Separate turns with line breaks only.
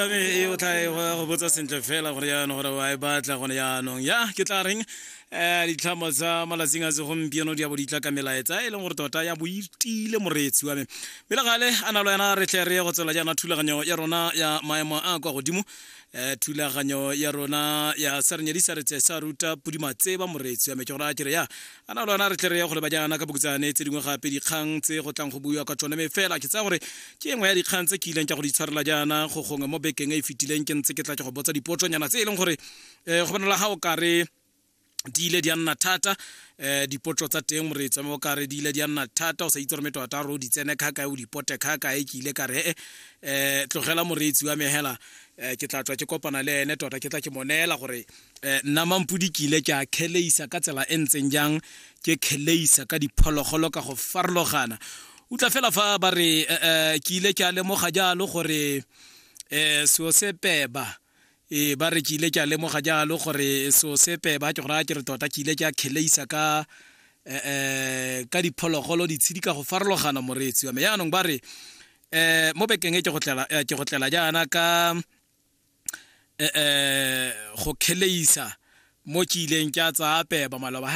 E o tla e go botsa sentle fela gore jaanong gore wa e batla gone jaanong. Ya ke tla reng, ditlhamo tsa malatsing a segompieno di a bo di tla ka melaetsa e leng gore tota ya bo itile, moreetsi wa me. Mme le gale a na le wena re tle re ye go tswela jaana thulaganyo ya rona ya maemo a kwa godimo, thulaganyo ya rona ya sa re nyadisa re tse sa ruta podimatseba, moreetsi wa me. Ke gore a kere ya a na le wena re tle re ye go leba jaana ka bokutsane tse dingwe gape dikgang tse go tlang go buiwa ka tsone. Mme fela ke tsaya gore ke engwe ya dikgang tse ke ileng ka go di tshwarela jaana go gongwe mo bekeng e e fetileng, ke ntse ke tla ke go botsa dipotsonyana tse e leng gore go bonala ga o kare di ile di a nna thata. Dipotso tsa teng, moreetsi wa me, o kare di ile di a nna thata, o sa itse gore me tota re o di tsene kha kae, o di pote kha kae. Ke ile ka re tlogela, moreetsi wa me, hela ke tla tswa ke kopana le ene tota, ke tla ke mo neela gore nna Mampudi ke ile ke a kheleisa ka tsela e ntseng jang, ke kheleisa ka diphologolo ka go farologana. Utlwa fela fa ba re ke ile ke a lemoga jalo gore seo se peba. Ba re ke ile ke a lemoga jalo gore seo se peba, ke gore a ke re tota ke ile ke a kheleisa ka diphologolo, ditshedi ka go farologana, moreetsi wa me. Yaanong ba re mo bekeng e ke go tlela jaana ka go kheleisa mo ke ileng ke a tsaya peba maloba.